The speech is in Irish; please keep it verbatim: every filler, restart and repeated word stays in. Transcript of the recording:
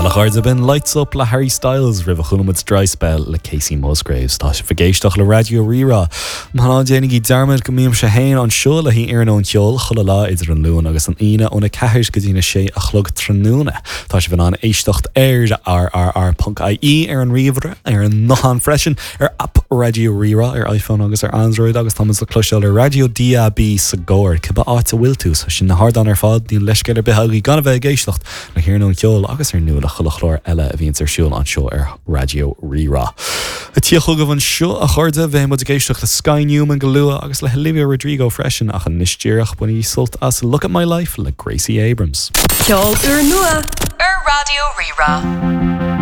Well a chairde b'in Lights Up le Harry Styles roimh a chuala muid Dry Spell le Kacey Musgraves tá sibh ag éisteacht le Raidió Rí-Rá. Ná déanaigí dearmad go mbímse féin anseo le iarnóin cheoil chuile lá idir an Luan agus an Aoine óna ceathair go dtí na sé a chlog tráthnóna. Tá sibh in ann éisteacht ar rrr.ie ar an ríomhaire ar an nguthán freisin ar app Raidió Rí-Rá ar iPhone agus ar Android agus tá le cloisteáil ar Raidió DAB sa gcarr cibé áit a bhfuil tú so sin na hardáin ar fad níl leithscéal ar bith agaibh gan a bheith ag éisteacht le hiarnóin cheoil agus ar ndóigh le chuile chlár eile a bhíonn ar siúl anseo ar Raidió Rí-Rá. A tí chugaibh anseo a chairde beidh muid ag éisteacht le Sky Newman go luath agus le Olivia Rodrigo freisin ach anois díreach bainigí sult as Look at My Life le Gracie Abrams. Ceol úrnua ar Raidió Rí-Rá.